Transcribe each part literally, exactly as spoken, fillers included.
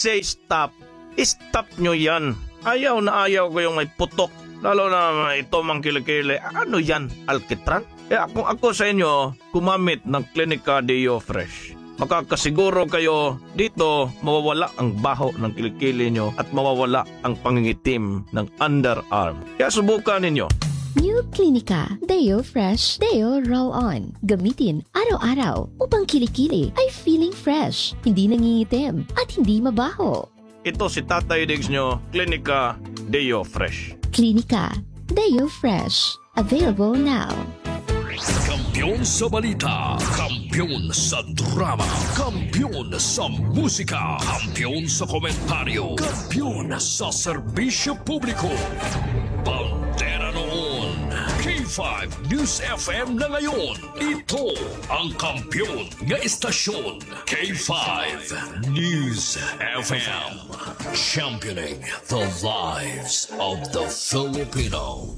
say stop, stop nyo yan. Ayaw na ayaw ko yung may putok. Lalo na ito, mga kilikili. Ano yan? Alkitran? Kaya kung ako sa inyo, gumamit ng Clinica Deo Fresh. Makakasiguro kayo dito, mawawala ang baho ng kilikili nyo at mawawala ang pangingitim ng underarm. Kaya subukan ninyo. New Clinica Deo Fresh Deo Roll On. Gamitin araw-araw upang kilikili ay feeling fresh, hindi nangingitim, at hindi mabaho. Ito si Tatay Diggs nyo, Clinica Deo Fresh. Clinica Deo Fresh. Available now. Kampiyon sa balita, kampiyon sa drama, kampiyon sa musika, kampiyon sa komentaryo, kampiyon sa serbisyo publiko. Bandera noon, K five News F M na ngayon. Ito ang kampiyon nga istasyon, K five News F M. Championing the lives of the Filipino.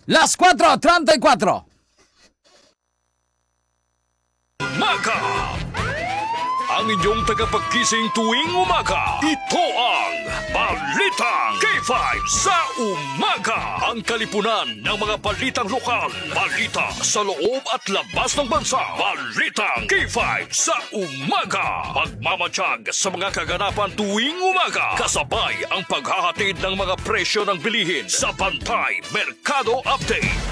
Las cuatro treinta y cuatro. Maga. Ang inyong tagapagkising tuwing umaga, ito ang Balitang K five sa Umaga. Ang kalipunan ng mga balitang lokal, balita sa loob at labas ng bansa, Balitang K five sa Umaga. Magmamatiyag sa mga kaganapan tuwing umaga, kasabay ang paghahatid ng mga presyo ng bilihin sa Bantay Merkado Update.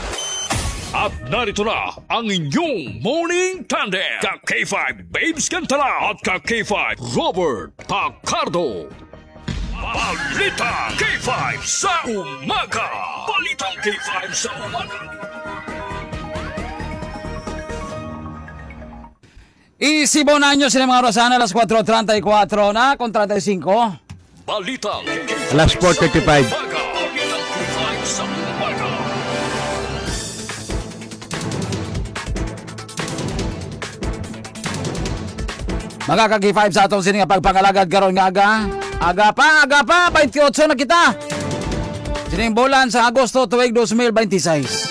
At narito na ang inyong morning tandem, ka K five Babes Cantala at ka K five Robert Tacardo. Balitang K five sa Umaga. Balitang K five sa Umaga. Isibo na nyo sila mga oras na, alas kuwatro treinta y cuatro na, kung treinta y cinco. Balitang K five Alas four thirty-five. sa Umaga. Balitang K five sa Umaga. Mga ka-K five, sa atong sini nga pagpangalagad karon nga aga. Aga pa, aga pa, twenty-eight na kita. Sining bulan sa Agosto tuig twenty twenty-six.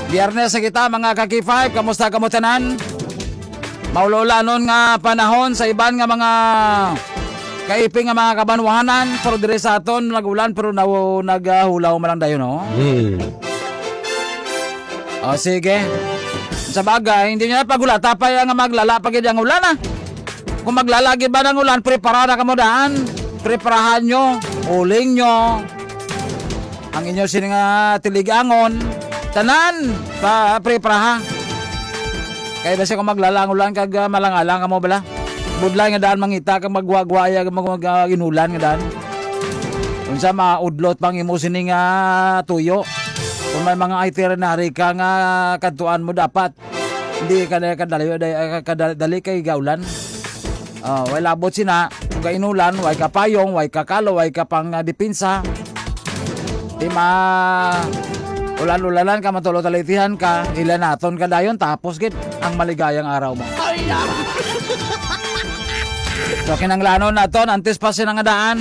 Biyernes na kita, mga ka-K five. Kamusta kamo tanan? Maululanon nga panahon sa iban nga mga kaiping nga mga kabanwahanan, pero diri sa aton nag-ulan pero naw-, naghulaw man lang dayon, no? Hmm. O, sige. Sa bagay, hindi nyo na paghulata pa yan nga maglala pa gid ang ulan, ah. Kung maglala gid ba ng ulan, prepara na kamo daan. Preparahan nyo, uling nyo. Ang inyo sini nga tiligangon, tanan, pa, prepara, ha. Kay basi kung maglala ang ulan kag, ah, malangalang kamo bala. Budlay nga daan mangita kag magwagwaya kag mag-, mag-, ah, inulan nga daan. Unsa maudlot pang imo sini nga tuyo? Kung may mga itinerary ka nga kadtuan mo dapat, hindi ka na kadali, kadali kay gaulan. Ah, way labot sina, kung gainulan, way ka payong, way ka kalo, way ka pang, ah, depensa. Di ma-, ulan-ulanan ka, matulog talitihan ka, ilanaton ka dayon, tapos gid, ang maligayang araw mo. Ay, ah. So, kinanglanon naton, antes pa sina nga daan,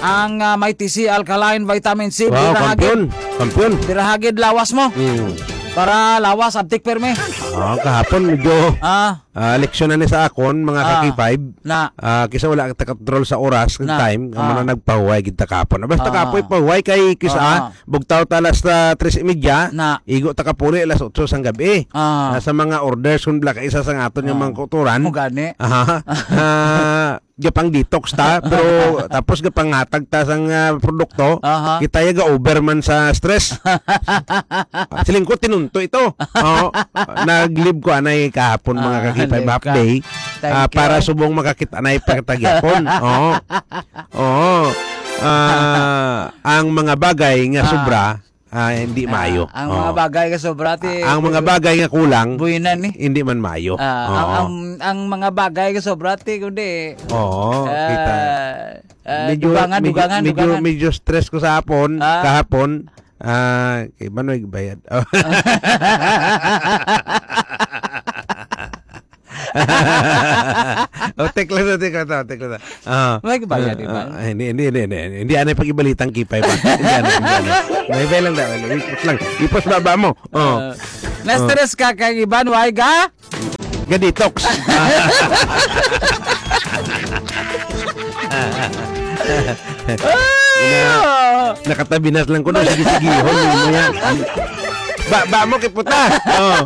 ang, ah, Mighty C Alkaline Vitamin C, Wow, bira hagid, kampiyon. Kampiyon. Bira hagid lawas mo. Mm. Para lawas, abtik permi. Ah, kahapon medyo, Ah. ah, leksyon na ni sa akon, mga Ah. ka-K five. Na. Ah, kisa wala ta control sa oras, kag Na. time, amo Ah. na nagpahuway gid ta kahapon. Basta Ah. kapoy pahuway kay kisa, Ah. ah, bugtaw ta alas, ah, tres y media, Na. igo ta kapuli alas otso sang gabi. Ah. Ah, sa mga orders, kun bala ka isa sang aton nga Ah. mga kautoran. Mo gani. Aha. Ah, gapang detox ta, pero tapos gapanghatag ta sang, ah, produkto, Aha. kita ya ga-over man sa stress. Siling ko, tinunto ito. Oo. Nag-leave ko anay kahapon, mga Ah, ka-K five, nag-leave half ka. day, Thank ah, you. para subong makakita na ipagtagyapon. Oo. Oo. Ah, ang mga bagay nga Ah. sobra, ah, hindi Ah, maayo. ang Oo. mga bagay nga sobra, ti, Ah, ang mga bagay nga kulang, buhinan, eh. hindi man maayo. Ah, ang, Oo. ang, ang mga bagay nga sobra, ti, kundi, Oo, ah, kita. ah, Medyo, dugangan, medyo, dugangan, medyo, dugangan. medyo stress ko sa hapon, Ah. kahapon. Ah, kay Manoy bayad. Oh, take lang sa, take lang sa, take lang sa. Ah. May bayad, Ah, di ba? ah, hindi, hindi, hindi, hindi. Hindi, anay pag-ibalitang kipay ba? Hindi, anay, hindi, anay. May bay lang daw. Ipos lang. Ipos baba mo. Oh. Ah, na-stress ka kay Iban, why ka? Ga-detox. Ay, Ina, ah. Nakatabi na lang ko, no? Sige, sige, hon mo yan. Ba, ba mo kiputa. Oh.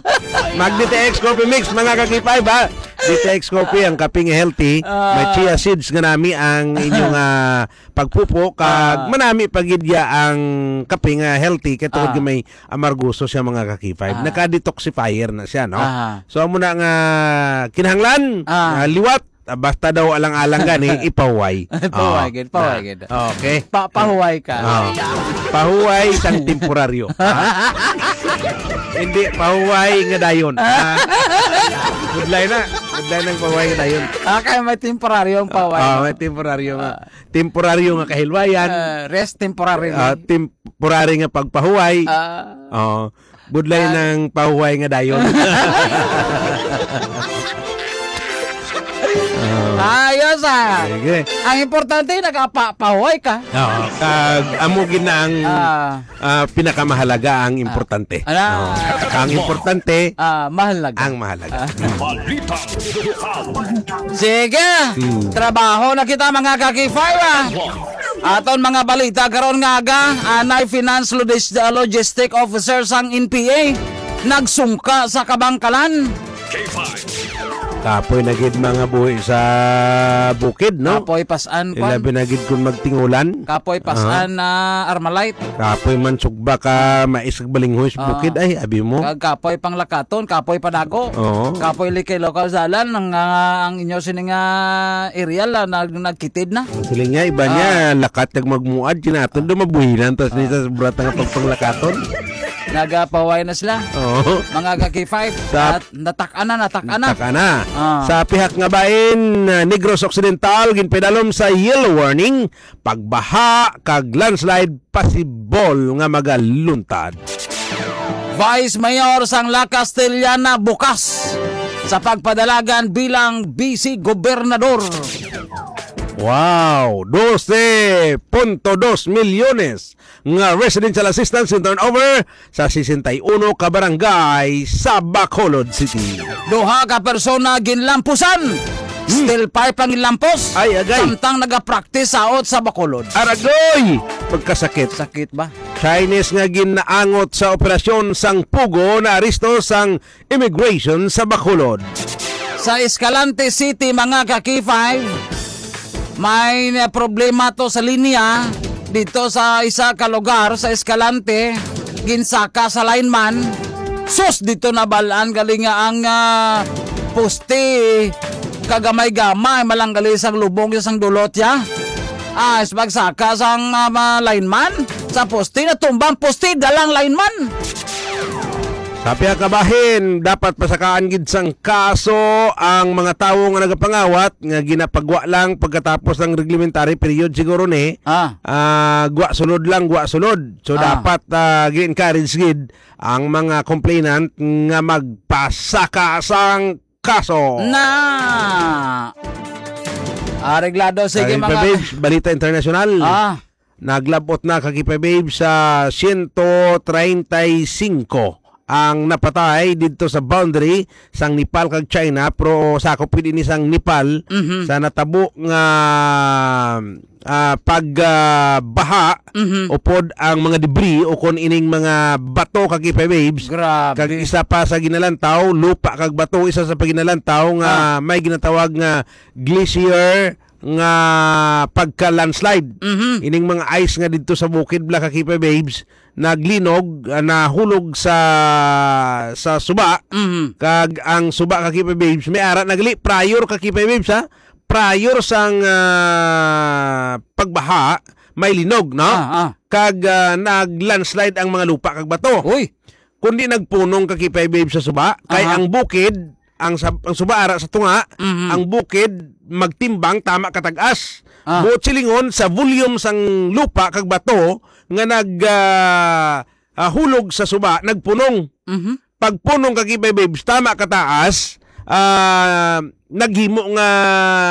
Mag D T X Coffee Mix, mga ka-K five, ha? D T X Coffee, ang kaping healthy. Ah. May chia seeds nga nami ang inyong, ah, pagpupo, kag Ah. manami pa gid ya ang kape nga healthy, kay tungod Ah. nga may amargoso siya, mga ka-K five. Ah. Naka-detoxifier na siya, no? Aha. So, amo na nga kinahanglan, Ah. ah, liwat, ah, basta daw alang-alang gani, ipahuway. Pahuway Oh. gid, pahuway gid. Okay. Pa-, pahuway ka. Oh. Pahuway sang temporaryo. Ah. Hindi, pahuway nga dayon. Ah. Budlay na. Budlay ng pahuway nga dayon. Ah, kaya may temporaryo ang pahuway, Ah, no? may temporaryo nga. Ah. Temporaryo nga kahilwayan. Ah, rest temporary Ah, lang. temporary nga pagpahuway. Ah. Oo. Budlay Ah. ng pahuway nga dayon. Oo. Ayos, ah. Sige. Ang importante, nagapa-, pahuway ka. Oo. Kag amo gid na ang, Ah. ah, pinakamahalaga, ang Ah. importante. Ala. Oo. Ang importante, Ah, mahal na ka. ang mahalaga. Ah. Sige. Hmm. Trabaho na kita, mga ka-K five, ah. Aton mga balita karon nga aga, anay finance logis-, logistic officer sang N P A nagsungka sa kabangkalan. K five. Kapoy na gid mga buhi sa bukid, no? Kapoy pas-an, kwan. Ilabi na gid kung magtingulan. Kapoy pas-an Aha. na Armalite. Kapoy man sugba ka mais ug balinghoy sa Ah. bukid. Ay, abi mo. Kag kapoy panglakaton, kapoy padago. Oo. Kapoy likay lokal sa alan, ang, ah, ang inyo sining, ah, area la, nag-, nagkitid na. Ang siling niya, iba niya, Ah. lakat kag magmuad, kinaton Ah. do mabuhinan, tas Ah. ni sa sobra ta nga pagpanglakaton. Nagapahuway na sila. Oo. Mga ka-K five, Sa nat-, natak-an na, natak-an na. Natak-an na. Ah. Sa pihak nga bahin, ah, Negros Occidental, ginpadalom sa yellow warning, pagbaha kag landslide possible nga magaluntad. Vice Mayor sang La Castellana bukas sa pagpadalagan bilang Vice Gobernador. Wow! Dose punto dos milyones nga residential assistance in turnover sa sesenta y uno ka barangay sa Bacolod City. Duha ka persona ginlampusan. Hmm. Steel pipe ang ginlampos. Ay, agay. Samtang nagapractice sa out sa Bacolod. Aragoy! Pagkasakit. Sakit ba? Chinese nga ginaangot sa operasyon sang Pugo naaresto sang immigration sa Bacolod. Sa Escalante City, mga ka-K five, may na problema to sa linya dito sa isa ka lugar sa Escalante, ginsaka sa lineman. Sus, dito nabalaan gali nga ang, ah, poste kagamay-gamay, malanggali sang lubong sang dulot ya. Ah, sa pagsaka sang, ah, mga lineman sa poste, natumba ang poste, dalang lineman. Sa pihak kabahin, dapat pasakaan gid sang kaso ang mga tawo nga nagapangawat nga ginapagwa lang pagkatapos ng reglementary period siguro ni. Ah. Ah, gwa sulod lang, gwa sulod. So, Ah. dapat, ah, gi-encourage gid ang mga complainant nga magpasaka sang kaso. Na. Areglado, sige, Kain pa, mga babes, balita internasyonal. Ah. Naglabot na, ka-K five Babes, sa siyento treinta y cinco ang napatay didto sa boundary sang Nepal kag China, pero sakop gid ini sang Nepal Mhm. sa natabo nga, ah, pag, ah, baha Mhm. upod ang mga debris o kon ining mga bato, ka-K five Babes. Grabe. Kag isa pa sa ginalantaw, lupa kag bato, isa sa paginalantaw nga Ah. may ginatawag nga glacier nga pagka-landslide. Mhm. Ining mga ice nga didto sa bukid bala, ka-K five Babes, naglinog, ah, nahulog sa, sa suba. Mhm. Kag ang suba, ka-K five Babes, may ara na gali, prior, ka-K five Babes, ha? Prior sang, ah, pagbaha, may linog, no? Ah, ah. Kag, ah, nag-landslide ang mga lupa kag bato. Uy. Kundi nagpunong, ka-K five Babes, sa suba, kay Aha. ang bukid, ang sab-, ang suba ara sa tunga, Mhm. ang bukid magtimbang tama katag-as. Ah. Buot silingon sa volume sang lupa kag bato nga nag, ah, ah, hulog sa suba, nagpunong. Mhm. Pagpunong, ka-K five Babes, tama kataas, ah, naghimo nga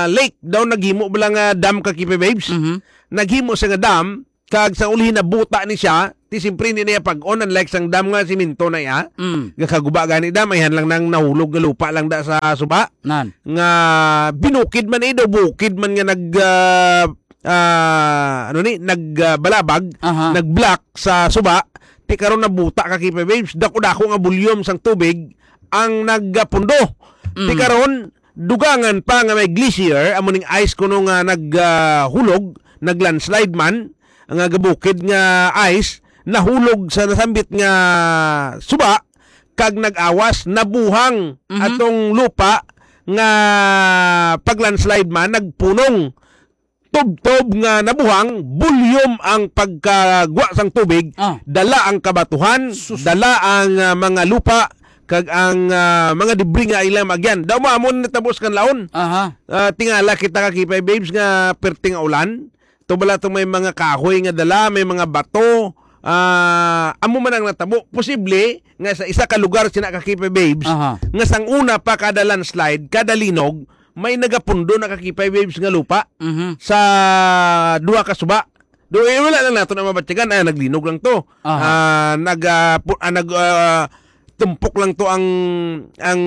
lake daw, naghimo bala nga dam, ka-K five Babes. Mhm. Naghimo siya nga dam, Kag sa ulhi nabuta ni siya, ti siyempre hindi na iya pag-on, unlike sang dam nga simento na iya. Mm. Nga kaguba gani dam, ayhan lang nang nahulog nga lupa lang da sa suba. Nan. Nga binukid man eh, daw bukid man nga nag, ah, ah, ano ni, nag, ah, balabag, Aha. nag-block sa suba. Ti karon nabuta ka, K five Waves, dako-dako nga volume sang tubig ang nagapundo. Ti Mm. karon, dugangan pa nga may glacier, amo ning ice kuno nga nag, ah, hulog, nag-landslide man, nga gabukid nga ice, nahulog sa nasambit nga suba, kag nag-awas, nabuhang Mhm. atong lupa nga pag-landslide man, nagpunong. Tubtob nga nabuhang, bulyom ang pagkagwa sang tubig, Ah. dala ang kabatuhan, Sus. dala ang, ah, mga lupa, kag ang, ah, mga debris nga ilang maagyan. Daw mo, amo na natabo sa Kanlaon. Aha. Ah, tingala kita ka K five Waves nga perting nga ulan. Tubala tong may mga kahoy nga dala, may mga bato. Ah, amo man ang natabo. Posible nga sa isa ka lugar sina ka K five Waves, Aha. nga sang una pa kada landslide, kada linog, may nagapundo na ka K five Waves nga lupa Mhm. sa duha ka suba. Do, eh, wala lang nato na mabatyagan. Ah, naglinog lang to. Aha. Ah, nag, ah, pu-, ah, nag, ah, tumpok lang to ang, ang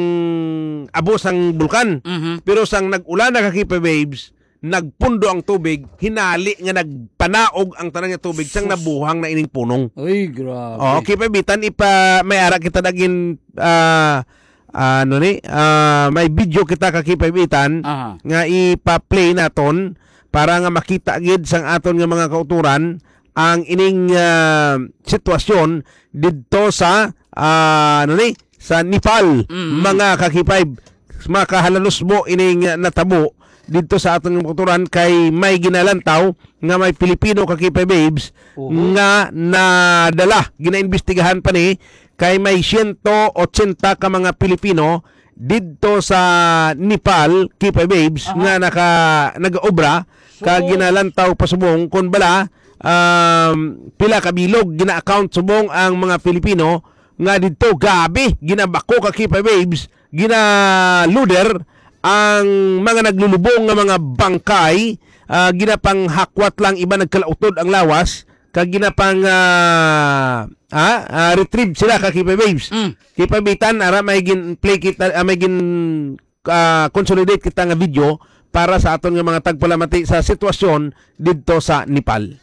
abo sang bulkan. Mhm. Pero sang nag-ulan na ka K five Waves, nagpundo ang tubig, hinali nga nagpanaog ang tanan nga tubig sang Sus. nabuhang na ining punong. Uy, grabe. Oh, K five Itan, ipa, may ara kita dagin, ah, ano ni, ah, may video kita ka K five Itan Aha. nga ipa-play naton para nga makita gid sang aton nga mga kauturan ang ining, ah, sitwasyon didto sa, ah, ano ni, sa Nepal, Mm. mga ka K five. Makahalanos mo ining, ah, natabo didto sa aton nga kauturan kay may ginalantaw nga may Pilipino ka K five Waves Oho. nga nadala. Ginaimbestigahan pa ni kay may siyento otsenta ka mga Pilipino didto sa Nepal, K five Waves, Aha. nga naka-, nag-obra, kag So ginalantaw pa subong kon bala, um, pila ka bilog gina-account subong ang mga Pilipino nga didto. Gabi, ginabako ka K five Waves, ginaluder ang mga naglulubong nga mga bangkay, ah, ginapanghakwat lang, iba nagkalautod ang lawas, kag ginapang, ah, ah, ah, retrieve sila ka K five Waves. Mm. K five Itan, ara may gin-play kita, ah, may gin, ah, consolidate kita nga video para sa aton nga mga tagpalamati sa sitwasyon didto sa Nepal.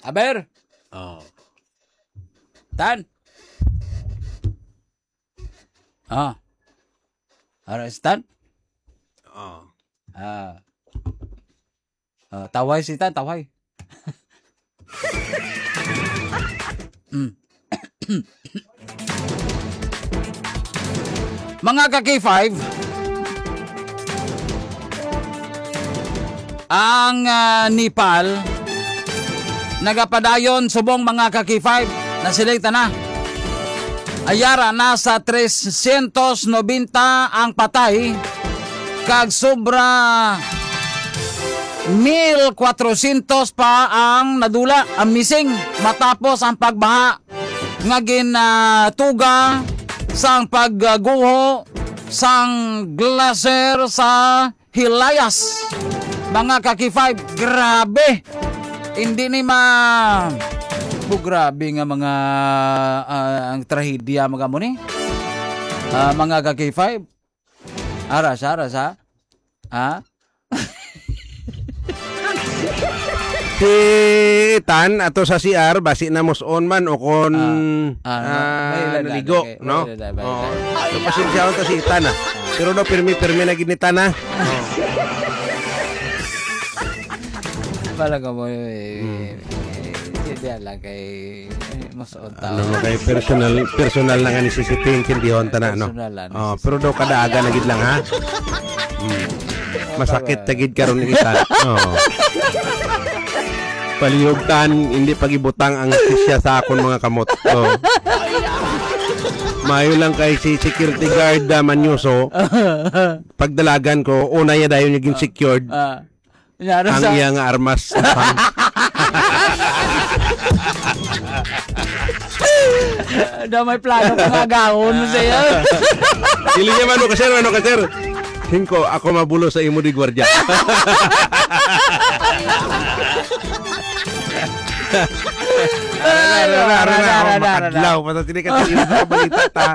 Aber? Oh. Tan? Ah. Ara, Stan? Oh. Ah. Ah, tawhay si Tan, tawhay. Mm. Mga ka K five, ang, ah, Nepal nagapadayon subong, mga ka K five, naselekta na. Ayara, nasa trescientos noventa ang patay, kag sobra mil kwatrocientos pa ang nadula, ang missing, matapos ang pagbaha nga ginatuga sang pagguho sang glacier sa Hilayas. Mga ka K five, grabe. Hindi ni ma-, bu-, grabe nga mga, ah, ang trahedya, mga mo ni. Ah, mga ka K five. Ara sa, ara sa. Ha? Si Tan ato sa C R, basi na mus-on man o kon, Ah, ah, ah, may ilan na, naligo, okay. No? May ilan na, may Oo. ilan na. So, pasensyahan ta si Tan, ah. Pero no, pirmi-pirmi na gid ni Tan, ah. Oo. Pala ka mo, eh, Hmm. eh, hindi lang kay, eh, mas Ano mo kay personal, personal na nga ni C C T ang intindihon ta na, no? Personal lang. Oh, pero daw kada aga na gid lang, ha? Hmm. Masakit ta gid karon ni Tan. Oh. Palihog, Tan, hindi pag-ibutang ang sisya sa akon mga kamot. Oh. Maayo lang kay si security guard, ah, Manyoso, pagdalagan ko, una niya dayon yung secured. Ah. Yara Ang sa iya nga armas. Na may plano pa nga gahon mo sa iya. Dili niya, "Mano ka, sir? Mano ka, sir?" "Hingko, ako mabulo sa imo di gwardiya." Ara, ara, ara, ara, ara, oh, ara, ara, ara. Makadlaw. Basta sini ka seryoso ka balita ta.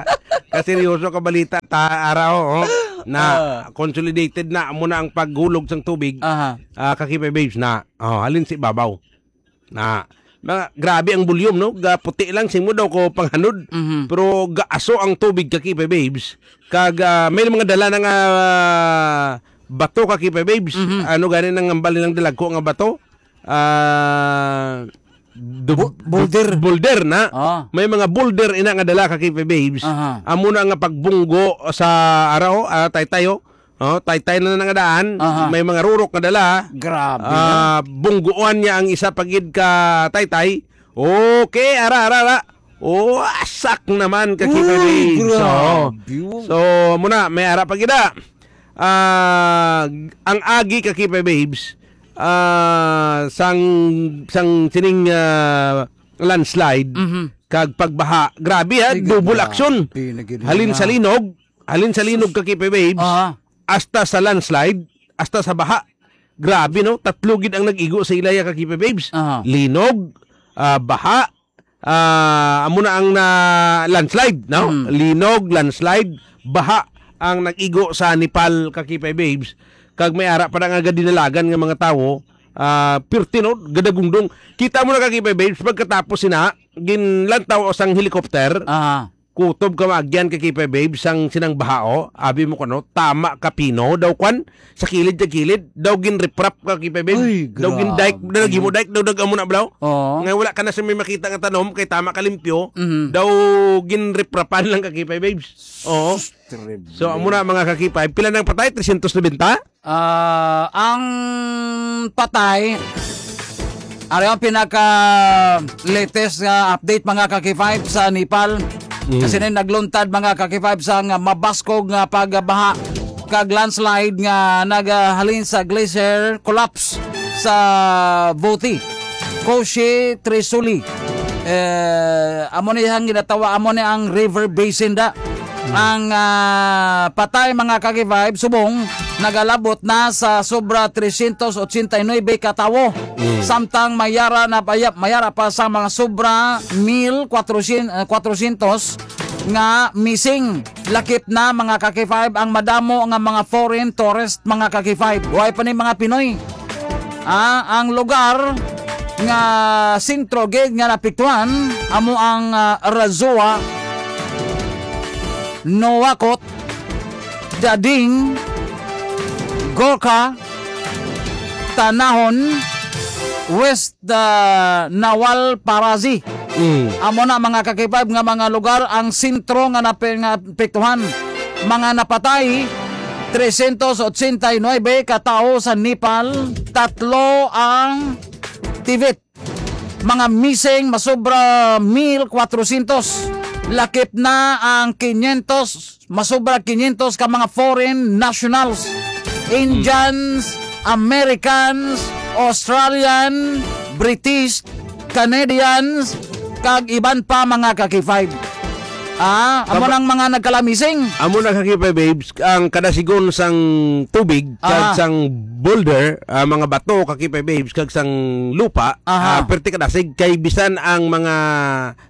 Ka seryoso ka balita ta, ara, oh, oh. Na Ah. consolidated na amo na ang paghulog sang tubig. Aha. Ah, ka K five Babes na. Oh, halin sa ibabaw. Na, mga, grabe ang volume, no? Gaputi lang, sing mo daw ko panghanod. Mhm. Pero gaaso ang tubig ka K five Babes. Kag, ah, may mga dala na nga, ah, bato ka K five Babes. Mhm. Ano gani nang hambal nilang dalagko nga bato? Ah, du- Bu- boulder. Boulder na. Ah. May mga boulder ina nga dala ka K five Babes. Aha. Amo na nga pagbunggo sa araw, ah, taytayo. Oh, taytay na na nga daan. Aha. May mga rurok nga dala. Grabe, Ah, bungguan niya ang isa pa gid ka taytay. Okay, ara, ara, ara. Oh, asak naman ka Uy, K five Babes. So, grabe. So, muna, may ara pa gid, ah. Ah, ang agi ka K five Babes, ah, sang, sang sining, ah, landslide, Mhm. kag pagbaha. Grabe, ha? Sige, Double grabe action. na gid Halin na. sa linog, halin sa linog ka K five Babes, Aha. hasta sa landslide, hasta sa baha. Grabe, no? Tatlo gid ang nag-igo sa ilaya ka K five Babes. Aha. Linog, ah, baha, ah, amo na ang na landslide, no? Hmm. Linog, landslide, baha ang nag-igo sa Nepal ka K five Babes. Kag may ara pa na nga gadinalagan nga mga tawo, ah, pirti, no? Gadagungdong. Kita mo na ka K five Babes, pagkatapos sina, ginlantaw sang helicopter. Aha. Kutob ka maagyan ka K five Babes sang sinang bahao, abi mo kuno, tama ka pino daw kwan, sa kilid, sa kilid, daw ginriprap ka K five Babes, Ay, daw gindike, grabe. daw naghimo dike, daw nag-amo na blaw. Oo. Nga wala ka na sa may makita nga tanom, kay tama ka limpyo, Mhm. daw ginriprapan lang ka K five Babes. Oo. Terrible. So, amo na mga ka K five, pila nang patay? Tresyentos nobenta? Ah, ang patay, ari ang pinaka latest nga update, mga ka K five, sa Nepal. Mm. Kasi na nagluntad, mga ka K five, sa nga mabaskog nga pagbaha kag landslide nga nagahalin sa glacier collapse sa Voti, Koshi Trisuli. Eh, amo ni ang ginatawa, amo ni ang river basin da. Ang, ah, patay, mga ka K five, subong nagalabot na sa sobra tresyentos otsenta y nuebe ka tawo. Mm. Samtang mayara na paya-, mayara pa sa mga sobra mil kwatrosyentos, ah, kwatrosyentos nga missing. Lakip na, mga ka K five, ang madamo nga mga foreign tourist, mga ka K five. Way pa ni mga Pinoy. Ah, ang lugar nga sentro gid nga naapektuhan amo ang, ah, Razowa, Nuwakot, Dading, Gorkha, Tanahon, West, ah, Nawalparazi. Mm. Amo na, mga ka K five, nga mga lugar ang sentro nga nape-, nga apektuhan. Mga napatay, tresyentos otsenta y nuebe ka tawo sa Nepal, tatlo ang Tibet. Mga missing, masobra mil kwatrosyentos. Lakip na ang kinyentos, masobra kinyentos ka mga foreign nationals, Indians, Americans, Australian, British, Canadians, kag iban pa, mga ka K five. Ah, amo Tama. nang mga nagkalamising. Amo na ka K five, babes, ang kadasigon sang tubig kag Aha. sang boulder, ah, mga bato ka K five, babes, kag sang lupa, Aha. ah, perti kadasig kay bisan ang mga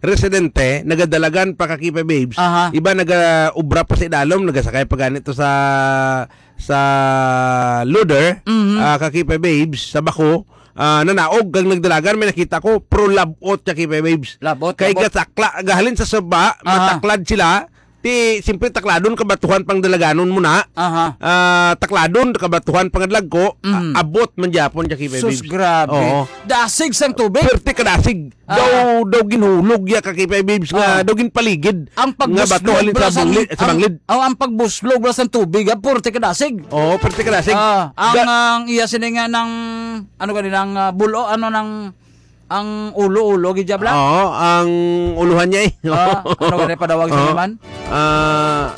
residente nagadalagan pa ka K five, babes. Aha. Iba nagaobra pa sa idalom, nagasakay pa ganito sa sa loader, Mhm. ah, ka K five, babes, sa bako, ah, nanaog kag nagdalagan, may nakita ko, pero labot ka K five, babes. Labot, Kay labot. gatakla, gahalin sa saba, Aha. mataklad sila, ti, siyempre, takladon, kabatuhan pang dalaganon mo na. Aha. Ah, takladon, kabatuhan pang dalagko, Mhm. a-, abot man gyapon ka K five, Sus, babes. grabe. Oo. Dasig sang tubig. Perte kadasig. Ah. Daw, daw ginhulog ya ka K five, babes, nga Ah. daw ginpaligid Ang nga pagbuslog bato halin bala sa sang, bungli-, sa ang, banglid. oh, ang pagbuslog bala sang tubig, ah, purti kadasig. Oo, purti kadasig. Ah, ang, Ga- ang iya sini nga nang, ano gani, nang, ah, bulo, ano, nang, ang ulo-ulo, gid, bala? Oo, ang uluhan niya, eh. Ah, ano gani padawag sa Oo. naman? Ah,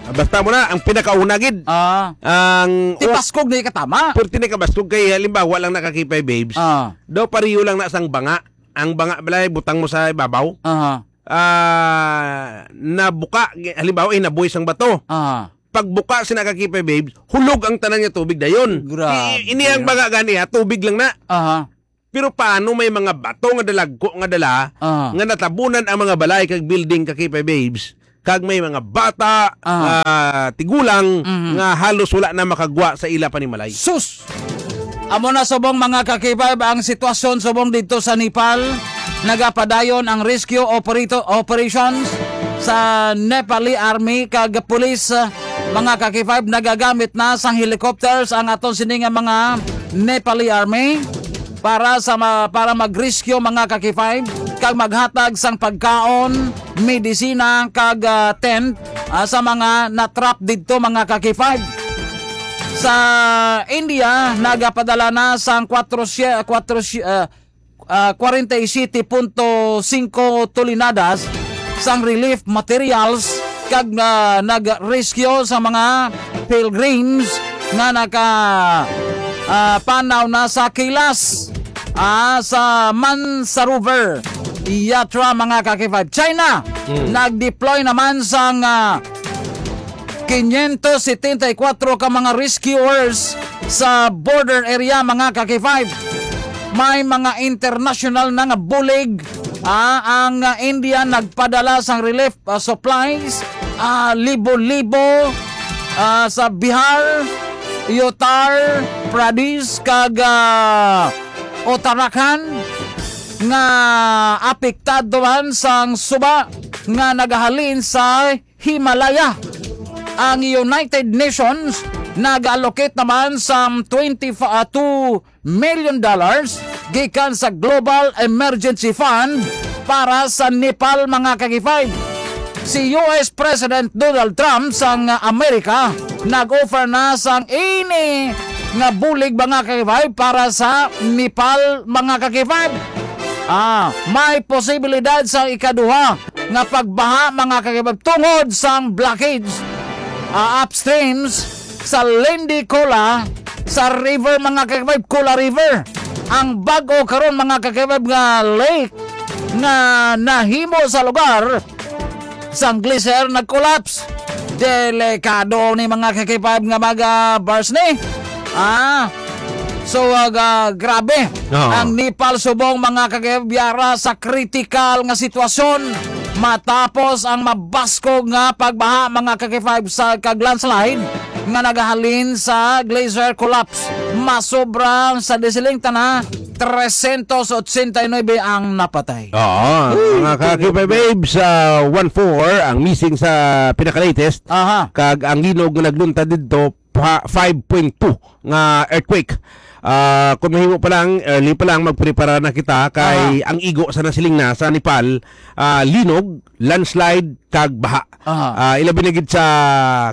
basta mo na, ang pinakauna, gid. Ah. Ang Ti u- paskog na ikatama. Purti na kabaskog kay, halimbawa lang na ka K five, babes. Ah. Daw pareho lang na sang banga. Ang banga balay, butang mo sa ibabaw. Aha. Ah, nabuka, gi-, halimbawa, hinaboy sang bato. Aha. Pagbuka sina ka K five, babes, hulog ang tanan nga tubig dayon. Grabe. I-, ini ang banga gani, ha, tubig lang na. Aha. Pero paano may mga bato nga dalagko nga dala Ah. nga natabunan ang mga balay kag building, ka K five Babes, kag may mga bata, Ah. ah, tigulang Mhm. nga halos wala na makagwa sa ila panimalay? Sus! Amo na subong, mga ka-K five, ang sitwasyon subong dito sa Nepal. Nagapadayon ang rescue operato-, operations sa Nepali Army kag police, mga ka-K five. Nagagamit na sang helicopters ang aton sini nga mga Nepali Army para sa ma-, para mag-rescue, mga ka-K five, kag maghatag sang pagkaon, medisina, kag, ah, tent, ah, sa mga natrap didto, mga ka-K five. Sa India, nagapadala na sang kwatro sye-, kwatro sye-, ah, ah, kwarenta y siyete punto singko toneladas sang relief materials kag, ah, nag-rescue sa mga pilgrims nga naka, ah, panaw na sa kilas, ah, sa Mansarovar Yatra, mga ka-K five. China, Hmm. nag-deploy naman sang, ah, quinientos setenta y cuatro ka mga rescuers sa border area, mga ka-K five. May mga international na nga bulig, ah, ang, ah, India nagpadala sang relief, ah, supplies, ah, libo-libo, ah, sa Bihar, Uttar Pradesh, kag, ah, Uttarakhand nga apektado man sang suba nga nagahalin sa Himalaya. Ang United Nations nag-allocate naman sa twenty, ah, two million dollars gikan sa Global Emergency Fund para sa Nepal, mga ka-K five. Si U S President Donald Trump sang Amerika nag-offer na sang ini nga bulig, mga ka-K five, para sa Nepal, mga ka-K five. Ah, may posibilidad sa ikaduha nga pagbaha, mga ka-K five, tungod sang blockage, ah, upstreams sa Lindikola sa river, mga ka-K five, Kola River. Ang bag-o karon, mga ka-K five, nga lake nga nahimo sa lugar sang glacier nag-collapse. Delikado ni, mga ka-K five, nga mag, ah, burst ni. Ah, so, ah, ga-, grabe. Oo. Ang Nepal subong, mga ka-K five, yara sa kritikal nga sitwasyon matapos ang mabaskog nga pagbaha, mga ka-K five, sa kag landslide nga nagahalin sa glacier collapse. Masobra sa disiling tana, trescientos ochenta y nuebe ang napatay. Oo, Uy, mga ka-K five Babes, ah, one four ang missing sa pinaka-latest. Aha. Kag ang linog nga nagluntad didto, pa, five point two nga earthquake. Ah, kung mahimo pa lang, early pa lang, magprepara na kita kay Aha. ang igo sa nasiling na sa Nepal, ah, linog, landslide, kag baha. Aha. Ah, ilabi na gid sa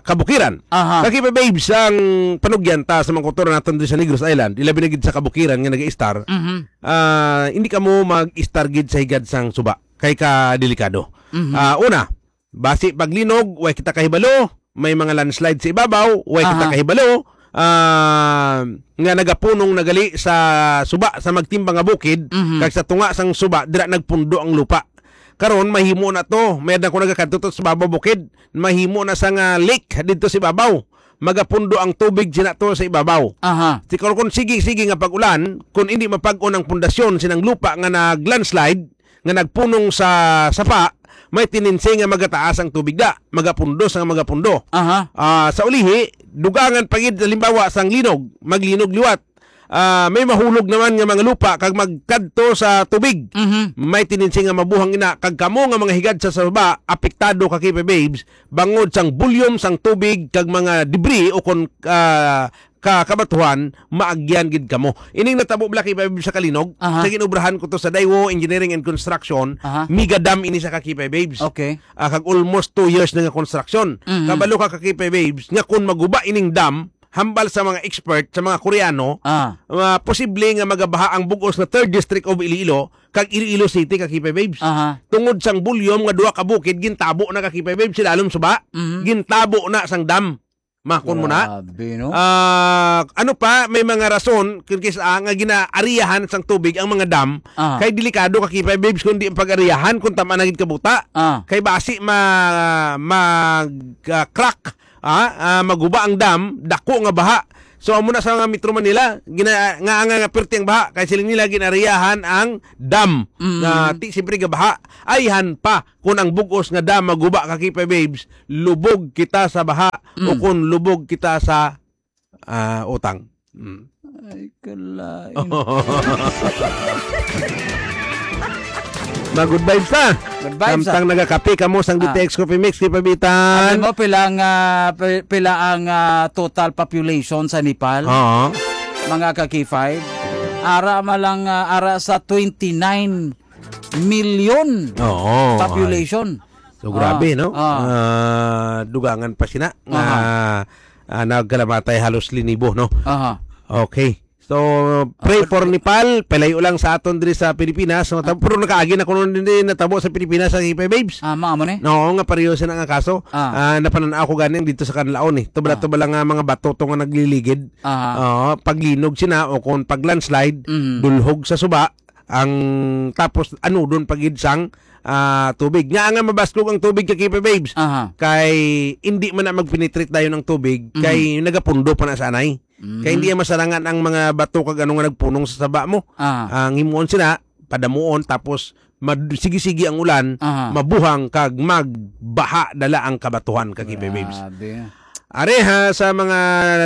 kabukiran. Aha. Ka-K five Babes, ang panugyan ta sa mga kultura naton diri sa Negros Island, ilabi na gid sa kabukiran nga nag-istar, Mhm. ah, hindi kamo mag-istar gid sa higad sang suba kay ka delikado. Mhm. Ah, una, basi paglinog, way kita kahibalo, may mga landslide sa ibabaw, way kita Aha. kahibalo, ah, nga nagapunong nagali sa suba sa magtimbang nga bukid, Mhm. kag sa tunga sang suba, dira nagpundo ang lupa. Karon, mahimo na to. Mayad na ko nagakadto to sa babaw bukid. Mahimo na sa nga lake didto sa ibabaw. Magapundo ang tubig sina to sa ibabaw. Aha. Siguro kung sige-sige nga pag-ulan, kung hindi mapag-on ang pundasyon sinang lupa nga nag-landslide, nga nagpunong sa sapa, may tendency nga magataas ang tubig da, magapundo sa magapundo. Aha. Ah, sa ulihi, dugangan pa gid, halimbawa, sang linog, maglinog liwat. Ah, may mahulog naman nga mga lupa kag magkadto sa tubig. Mhm. May tendency nga mabuhang ina, kag kamo nga mga higad sa saba, apektado ka, K P Babes, bangod sang volume sang tubig kag mga debris o kon, ah, ka, kabatuhan, maagyan gid kamo. Ining natabo bala, K P Babes, sa Kalinog, Aha. sa ginobrahan ko to sa Daiwo Engineering and Construction, Aha. mega dam ini sa ka, K P Babes. Okay. Ah, kag almost two years na nga construction. Mhm. Kabalo ka, ka, K P Babes, nga kung maguba ining dam, hambal sa mga expert, sa mga Koreano, Ah. ah, posible nga magabaha ang bug-os nga third district of Iloilo kag Iloilo City, ka, K P Babes. Aha. Tungod sang volume nga duha ka bukid, gintabo na, ka, K P Babes, sa lalom suba, Mhm. gintabo na sang dam. Makon mo na? Grabe, no? Ah, ano pa, may mga rason kung kis-, ah, nga ginaariyahan sang tubig ang mga dam, Ah. kay delikado, ka, K P Babes, kung di pag-ariyahan, kung tama na gid kabuta. Ah. Kay basi ma-, mag, ah, crack, ah, ah, maguba ang dam, dako nga baha. So, amo na sa mga Metro Manila, gina-, nga, nga, nga pirti ang baha, kay sila nila ginariyahan ang dam Mm. nga ti siyempre gabaha. Ayhan pa kung ang bugos nga dam maguba ka, Kipay Babes, lubog kita sa baha o Mm. kung lubog kita sa, ah, utang. Mm. Ay, kalay. Mga good vibes na. Good vibes, Samtang ah. nagakape kamo sang Ah. D T X Coffee Mix, Kipay Bitan. Ano mo, pila ang, ah, pi-, pila ang, ah, total population sa Nepal? Oo. Mga ka-K five. Ara man lang, ah, ara sa twenty-nine million Oo, population. So, grabe, Ah, no? ah. Ah, dugangan pa sina nga, Aha. ah, nagkalamatay halos linibo, no? Aha. Okay. So, pray Ah, for Nepal. Palayo lang sa aton diri sa Pilipinas. So, tab-, pero nakaagi na kuno din natabo sa Pilipinas sa Kipay Babes. Ah, mao mo ni? Oo, nga pareho sina nga kaso. Ah. Ah, napanan-aw ko ganing dito sa Kanlaon, eh. Tubala-tubala nga mga bato to nga nagliligid. Aha. Oo, paglinog sina o kung pag-landslide, Mhm. dulhog sa suba, ang tapos anudon pa gid sang, ah, tubig. Nya nga mabaskog ang tubig, ka Kipay Babes. Aha. Kay hindi man na mag-penetrate dayon ang tubig, Mhm. kay nagapundo pa na sa anay. Mhm. Kay hindi masarangan ang mga bato kag ano nga nagpunong sa saba mo. Ah. Ang himuon sila, padamuon, tapos mad-, sige-sige ang ulan, Aha. mabuhang kag magbaha dala ang kabatuhan, ka Kipay Babes. Grabe. Areha sa mga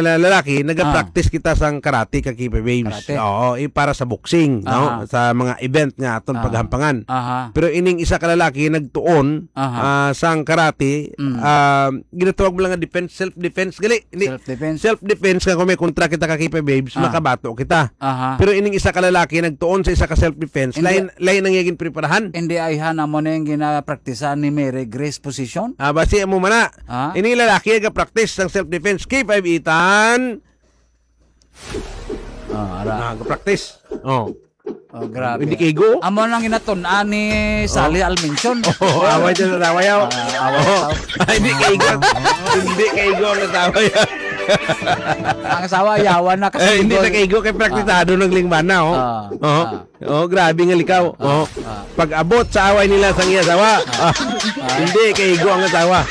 la-, lalaki, nagapractice Ah. kita sang karate, ka Kipay Babes. Karate? Oo, eh, para sa boxing, no? Aha. Sa mga event nga aton Ah. paghampangan. Aha. Pero ining isa ka lalaki nagtuon, Aha. ah, sang karate, Mm. ah, ginatawag mo lang nga defense, self-defense, gali. Hindi, Self-defense. self-defense nga kung may kontra kita, ka Kipay Babes, Ah. makabato kita. Aha. Pero ining isa ka lalaki nagtuon sa isa ka self-defense, Hindi. lain, lain ang iya ginpreparahan. Hindi, ayhan, amo na yung ginapraktisan ni Mary Grace position. Ah, basi amo man na. Ah? Ini lalaki nga practice sang self-defense. K five Ethan. Ah, ara. Ah, practice. Oh. Oh, grabe. Hindi kaigo. Amo nang ginatun-an ni Sally Almension. Oh, away dyan sa asawa, yaw. Ah, away Oh. sa Ay, hindi kaigo. Hindi kaigo ang asawa, yaw. Ang asawa, yawan na kasi Eh, hindi na kaigo kay praktisado ng lingbana, oh. Ah, Oh. ah. Oh, grabe nga likaw. Ah, Oh. ah. Pag-abot sa away nila sang iya asawa. Ah. Ah. Hindi kaigo ang asawa.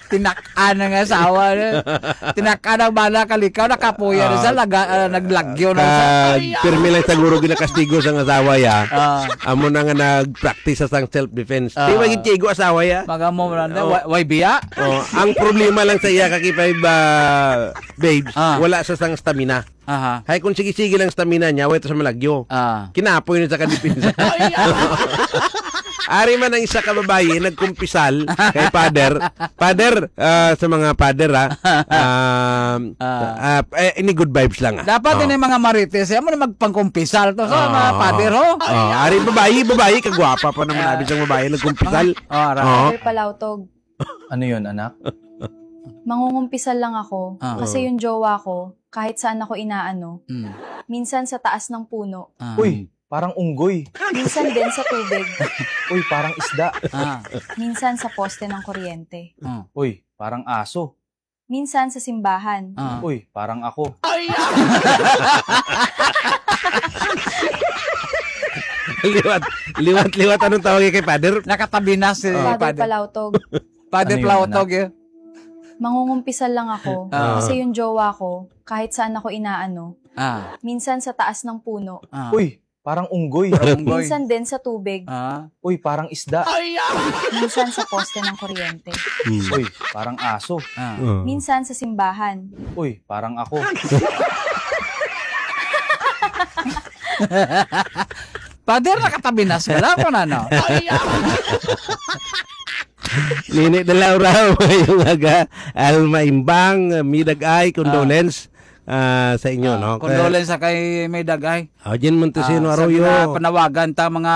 Tinak-an ang asawa, no? Tinak-an ang bana kalikaw, nakapuya na siya, Ah. laga-, ah, naglagyo na siya. Kag pirmi lang siguro ginakastigo sang asawa, ya. Ah. Amo na nga nag-practice sa sang self-defense. Ah. Di ba gid kaigo asawa, ya? Magamo man na, Oh. wa-, way biya? Oh, ang problema lang sa iya, ka K five, ah, babes, Ah. wala sa sang stamina. Aha. Hay, kung sige-sige lang stamina niya, wait sa malagyo. Ah. Kinapoy na sa kadepensa. Ari man ang isa ka babayi, nagkumpisal kay Father. Father, ah, sa mga Father, ah, um, Ah. ah, eh, ini good vibes lang, ah. Dapat Oh. ini mga Marites, eh, amo na magpangkumpisal to sa Ah. mga Father, ho? Oh, ari babayi, babayi, kagwapa pa naman Ah. abi sang babayi, nagkumpisal. Ah, ara. Oh. Father Palautog. Ano yun, anak? Mangungumpisal lang ako Ah. kasi yung jowa ko, kahit saan ako inaano. Mm. Minsan sa taas ng puno. Ah. Uy, parang unggoy. Minsan din sa tubig. Uy, parang isda. Ah. Minsan sa poste ng kuryente. Ah. Uy, parang aso. Minsan sa simbahan. Ah. Uy, parang ako. Liwat, liwat, liwat. Anong tawag kay Father? Nakatabi na si Oh. Father Father. Palautog. Father Ano yun, Palautog, anak? eh. Mangungumpisal lang ako Ah. kasi yung jowa ko, kahit saan ako inaano. Ah. Minsan sa taas ng puno. Ah. Uy, parang unggoy. Parang unggoy. Minsan din sa tubig. Ah. Uy, parang isda. Minsan sa poste ng kuryente. Hmm. Uy, parang aso. Ah. Ah. Minsan sa simbahan. Uy, parang ako. Father, nakatabi na sila. Ano na, no? Nini Dalaw raw, yung aga, Alma Imbang, Midag Ay, condolence, ah, sa inyo, Ah, no? Kay condolence sa kay Midag Ay. Ah, Jen Montesino Ah, sa Arroyo. mga panawagan ta, mga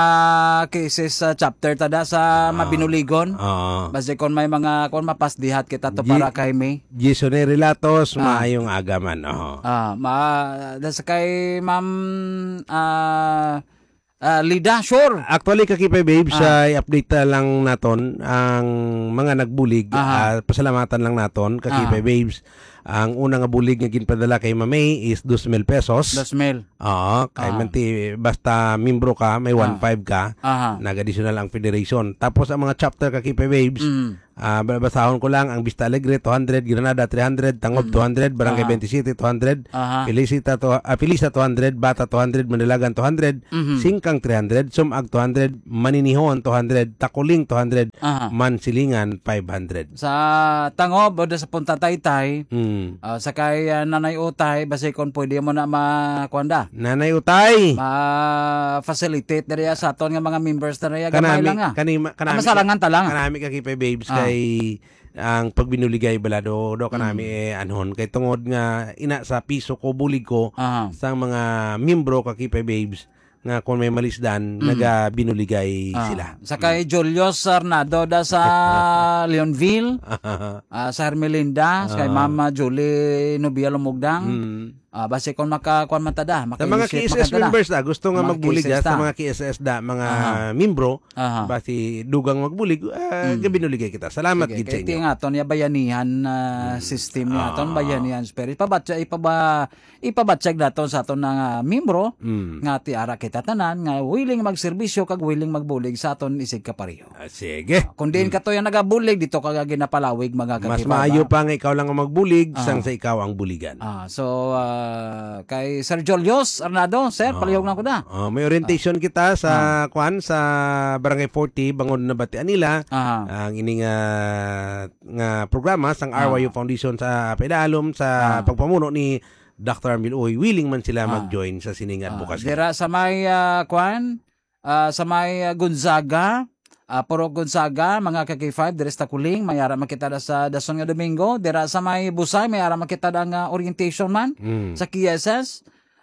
cases sa chapter ta da sa Ah. Mabinuligon. Ah. Basta kung may mga, kung mapasdihat kita to Gi-, para kay May. Jason Relatos, Ah. maayong aga man, oh. Ah, ma-, das kay Ma'am, ah, ah, Lida, sure. Actually, ka K five Babes, Ah. ah, i-update na lang naton ang mga nagbulig. Aha. Ah, pasalamatan lang naton, ka Ah. K five Babes. Ang una nga bulig nga ginpadala kay Mamay is dos mil pesos. Dos mil. Oo, kay Ah. manti, basta membro ka, may Ah. one five ka, Aha. nag-additional ang federation. Tapos ang mga chapter ka K five Babes, Mm. ah, ba-, basahon ko lang, ang Vista Alegre, two hundred, Granada, three hundred, Tangob, Mm. two hundred, Barangay Aha. twenty-seven, two hundred, Aha. Felicita, to, ah, Felisa, two hundred, Bata, two hundred, Manalagan, two hundred, Mhm. Singkang, three hundred, Sumag, two hundred, Maninihon, two hundred, Takuling, two hundred, Aha. Mansilingan, five hundred. Sa Tangob, o sa Punta Taytay, Mm. ah, sa kay, ah, Nanay Utay, basi kung pwede mo na ma-, kuwan da? Nanay Utay! Ma-facilitate na riya sa aton nga mga members na riya, gamay Kanami, lang, ah. kanima, Ah, kanami, masalangan ta lang. kanami ka K five Babes Ah. kay ang pagbinuligay bala do, do kanami Mm. eh, anhon. Kay tungod nga ina sa piso ko, bulig ko, Aha. sa mga membro ka K five Babes, nga kung may malisdan, Mm. nagabinuligay Ah, sila. sa kay Mm. Julius Arnado da sa Leonville, ah, sa Hermelinda, sa kay Ah. Mama Julie Nubia Lumugdang. Mm. Ah, basi kung maka-, kuwan man ta da, Sa mga maka-initiate K S S man ta da. members da, gusto nga Mga magbulig da, K S S sa da. mga K S S da, mga Aha. membro, Aha. basi dugang magbulig, ah, Mm. gabinuligay kita. Salamat Sige, gid sa kay inyo. ti nga aton ya bayanihan, ah, Mm. system ya aton, Ah. bayanihan spirit. Pabatya, ipaba-, ipabatyag naton sa aton nga membro Mm. nga ti ara kita tanan nga willing magserbisyo kag willing magbulig sa aton isig kapareho. Ah, sige. Kung diin Mm. ka to yung nagabulig, dito ka ginapalawig, mga Mas kakibaba. maayo pa nga ikaw lang ang magbulig Ah. sang sa ikaw ang buligan. Ah, so, ah, kay Sir Julius Arnado, sir, Ah. palihog na ko na. Ah, may orientation Ah. kita sa, Ah. kwan, sa Barangay forty, bangod na batian nila Aha. ang ining, ah, nga programa sang Ah. R Y U Foundation sa Paidalom sa Ah. pagpamuno ni Doctor Armil Uy, willing man sila Ah. mag-join sa sining Ah, advocacy. dira sa may, ah, kwan, ah, sa may, ah, Gonzaga, ah, Purok Gonzaga, mga ka-K five, diri sa Takuling, may ara makita na sa dason nga Domingo. Dira sa may Busay, may ara makita na nga orientation man Mm. sa K S S.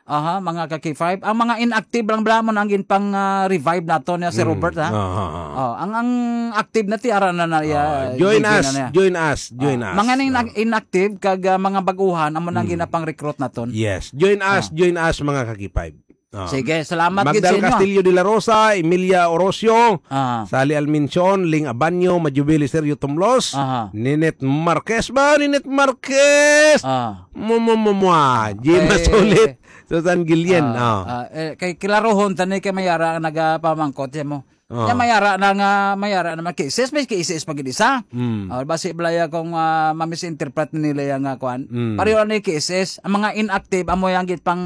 Aha, mga ka-K five. Ang mga inactive lang bala mo na ang ginpang, ah, revive nato niya si Mm. Robert, ha? Aha, aha. Oh, ang, ang active na ti ara na na, Ah, ya, join gigi us, na niya. join us, join Ah, us. mga ning Ah. inactive kag, ah, mga baguhan, amo nang Mm. ginapang recruit naton. Yes, join us, Ah. join us, mga ka-K five. Ah. Sige, salamat gid sa Magdal inyo. Castillo de la Rosa, Emilia Orosio, Ah. Sally Almincion, Ling Abanyo, Majubili Sergio Tumlos, Aha. Ninette Marquez ba? Ninette Marquez! Ah. Mo, mo, mo, mo, ah. Jim Okay. Masulit, Susan Gillian. Ah, Ah. ah, eh, kay kilaruhon, tani kay mayara ang nagapamangkot siya mo. Ah. Kaya mayara na nga, mayara naman cases, may cases pag isa. Mm. Ah, basi balaya kung, ah, ma-misinterpret nila yung, ah, kwan. Mm. Pareho na yung cases, ang mga inactive, amo yung git pang,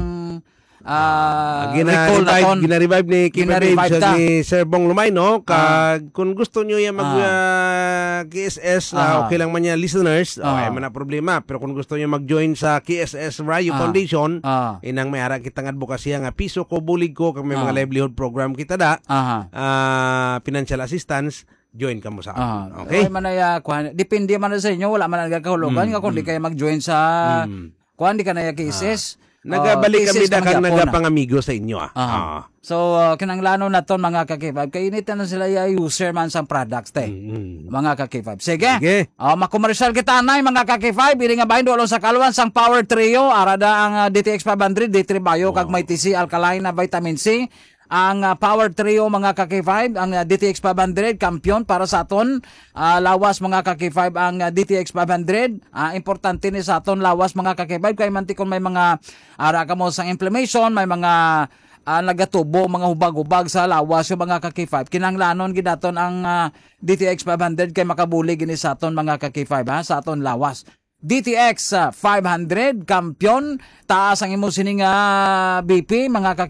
ah, Gina-revive, recall naton. gina-revive ni K five Gina-revive Babes, ta. ni Sir Bong Lumay, no? Ah. Kag kung gusto nyo yung mag, Ah. ah, K S S, ah, Aha. okay lang man yan, listeners, Aha. okay man ang problema. Pero kung gusto nyo mag-join sa K S S Rayo Ah. Foundation, Ah. inang may ara kitang advokasya nga piso ko, bulig ko, kag may mga Ah. livelihood program kita da, Aha. ah, financial assistance, join ka mo sa Ah. amin. Okay? Ay, man ay, ah, kuwan, depende man na sa inyo, wala man ang nagkahulugan Mm, nga kung di mm. kayo mag-join sa Mm. Kuan, di ka na ya cases. Ah. Nagabalik Ah, kami cases da na kang magyapon, ah. nagapangamigo sa inyo, ah. Aha. Ah. So, ah, kinanglanon naton, mga ka-K five. Kay init na sila ya user man sang products, te. Mm-mm. Mga ka-K five. Sige. Sige. Ah, makomersyal kita, anay, mga ka-K five. Ini nga bahin, duolong sa kalwan sang Power Trio. Ara da ang, ah, D T X five hundred, D three Bio, kag Oh. may T C Alkaline na vitamin C. Ang, ah, Power Trio, mga ka-K five, ang, ah, D T X five hundred, kampiyon para sa aton, ah, lawas, mga ka-K five, ang, ah, D T X five hundred. Ah, importante ni sa aton lawas, mga ka-K five, kay mantikon may mga ara kamo sang inflammation, may mga, ah, nagatubo, mga hubag-hubag sa lawas, yung mga ka-K five. Kinahanglanon gid naton ang, ah, D T X five hundred kay makabulig gini sa aton, mga ka-K five, ha, sa aton lawas. D T X, ah, five hundred, kampiyon, taas ang imo sining, ah, B P, mga ka-K